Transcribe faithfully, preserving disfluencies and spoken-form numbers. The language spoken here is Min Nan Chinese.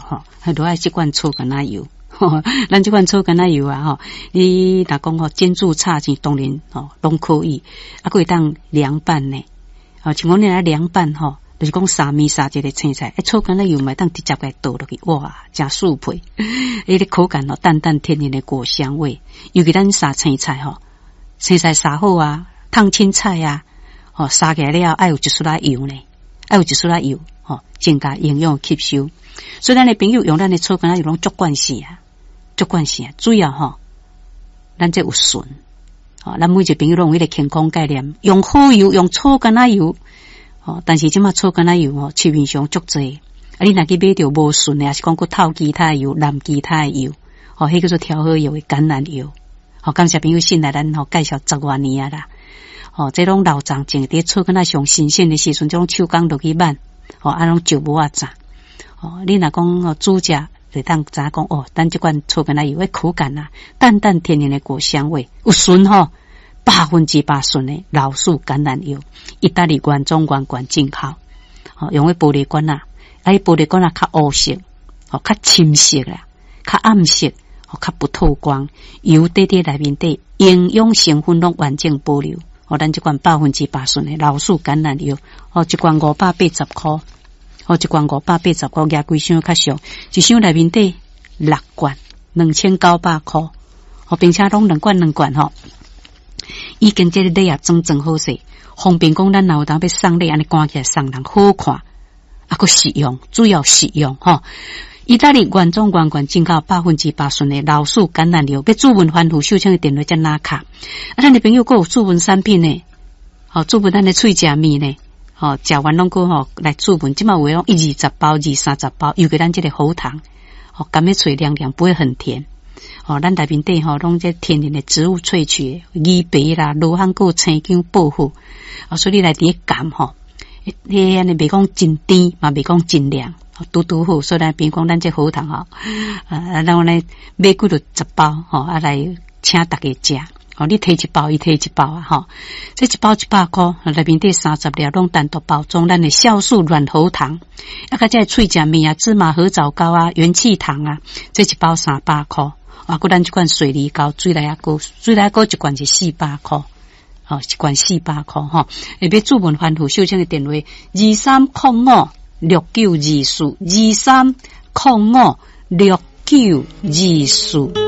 吼，都愛這罐草柑仔油。咱這罐草柑仔油啊，吼，你若講吼煎煮炒煎，當然吼攏可以，啊，閣會當涼拌呢。吼，像講你來涼拌吼，就是講沙麵沙一个青菜，欸，草柑仔油嘛會當直接共倒落去，哇，誠舒配。彼个口感吼，淡淡天然的果香味。尤其咱沙青菜吼，青菜沙好啊，燙青菜啊，吼，沙起來了後愛有一絲仔油呢，愛有一絲仔油，吼，增加營養吸收。所以咱的朋友用咱的草柑仔油攏足慣勢啊。足慣勢啊，主要吼，咱這有純，吼，咱每一個朋友攏有彼个健康概念，用好油，用草柑仔油，吼，但是這馬草柑仔油吼，市面上足濟，啊，你若去買著無純的，抑是講閣透其他的油、摠其他的油，吼，彼叫做調和油的橄欖油，吼，感謝朋友信賴咱吼，介紹十外年啊啦，吼，這攏老欉種佇草柑仔上新鮮的時陣，這種手工落去挽，吼，啊，攏石磨仔榨，吼，你若講吼煮食。就當知影講哦，咱這罐草柑仔油的口感啊，淡淡天然的果香味，有純吼，百分之百純的老樹橄欖油，意大利原裝原罐進口，吼，用的玻璃罐仔，啊，彼玻璃罐仔較烏色，吼，較深色啦，較暗色，吼，較不透光，油底底內面底營養成分攏完整保留，吼，咱這罐百分之百純的老樹橄欖油，吼，一罐五百八十箍。哦，一罐五百八十箍，額幾箱較俗，一箱內面底六罐，兩千九百箍。哦，並且攏兩罐兩罐吼，已經這个禮盒裝裝好勢，方便講咱若有當欲送禮，按呢掛起來送人好看，啊，閣實用，主要實用吼。意大利原裝原罐進口百分之百純的老樹橄欖油，欲諮問番予秀清的電話才拿卡。啊，咱的朋友閣有諮問產品呢，吼，諮問咱的喙食麵呢。吼，食完攏閣吼來諮問，這馬有的攏一二十包、二三十包，尤其咱這个喉糖，吼，含咧喙涼涼，不會很甜。吼，咱內面底吼攏這天然的植物萃取，魚皮啦、羅漢果、青薑、薄荷，啊，所以你來佇咧含吼，彼按呢袂講真甜，嘛袂講真涼，拄拄好。所以咱比如講咱這喉糖吼，啊，咱咧買幾落十包吼，啊來請大家食。哦，你提一包，伊提一包啊！吼，這一包一百箍，內面底三十粒，攏單獨包裝。咱的酵素軟喉糖，啊，佮這喙食麵啊，芝麻褐藻膏啊，元氣糖啊，這一包三百箍。啊，閣咱這款水梨膏、水梨仔膏，水梨仔膏一罐是四百箍，吼，一罐四百箍吼。會欲諮問番予秀清的電話：二三空五六九二四，二三空五六九二四。